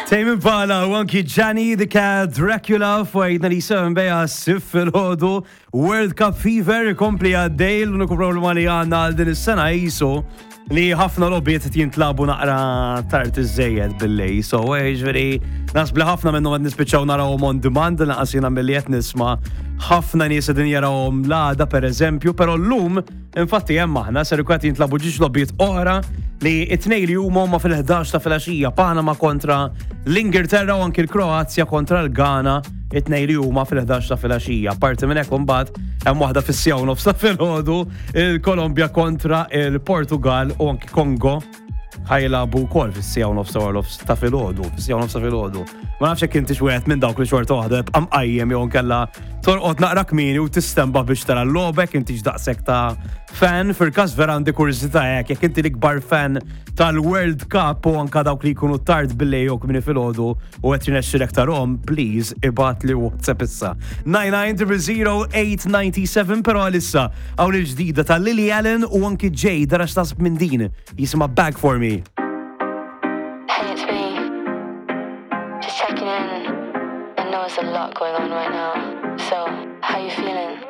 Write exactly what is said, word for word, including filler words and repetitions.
Tame Impala u anki Johnny the Cat Dracula fuq ninety-seven beja sif fil-ħodu. World Cup Fever ikompli għaddej. L-uniku problema li għandna għal din is-sena jisu li ħafna logħbiet qed jintlagħbu naqra tard iżżejjed bil-lejl. So, ġifieri, naħseb li ħafna minnhom qed nispiċċaw narawhom on demand, lanqas jiena milli qed nisma' ħafna nies qegħdin jarawhom l-għada pereżempju, però llum infatti hemm aħna ser ikun qed jintlagħbu żewġ logħbiet oħra li it-tnejn li huma huma fil-ħdax ta' filgħaxija, Panama kontra l-Ingilterra u anki l-Kroazja kontra l-Ghana, it-tnejn li huma fil-ħdax ta' filgħaxija. Parti minn hekk imbagħad hemm waħda fis-siegħa u nofs ta' filgħodu, il-Kolombja kontra il-Portugal u anki Kongo ħa jilagħbu wkoll fis-siegħa u nofs nofs ta' filgħodu, fis-siegħa u nofs ta' filgħodu. Ma nafx jekk intix wieħed minn dawk li xorta waħda jibqa' mqajjem jew nkella torqod naqra kmieni u tistenbaħ biex tara l-logħba, intix daqshekk ta' fan. Fil-każ vera għandi kurżità hekk, jekk inti l-ikbar fan tal-World Cup u anka dawk li jkunu tard bil-lejl jew kmieni filgħodu u qed jirnexxilek tarahom, please ibgħatli WhatsApp issa. nine nine zero zero eight nine seven. Però għalissa hawn il-ġdida ta' Lily Allen u anki Jay, dara x'taħseb minn din, jisimha "Beg For Me". Hey, it's me. Just checking in. I know there's a lot going on right now. So, how you feeling?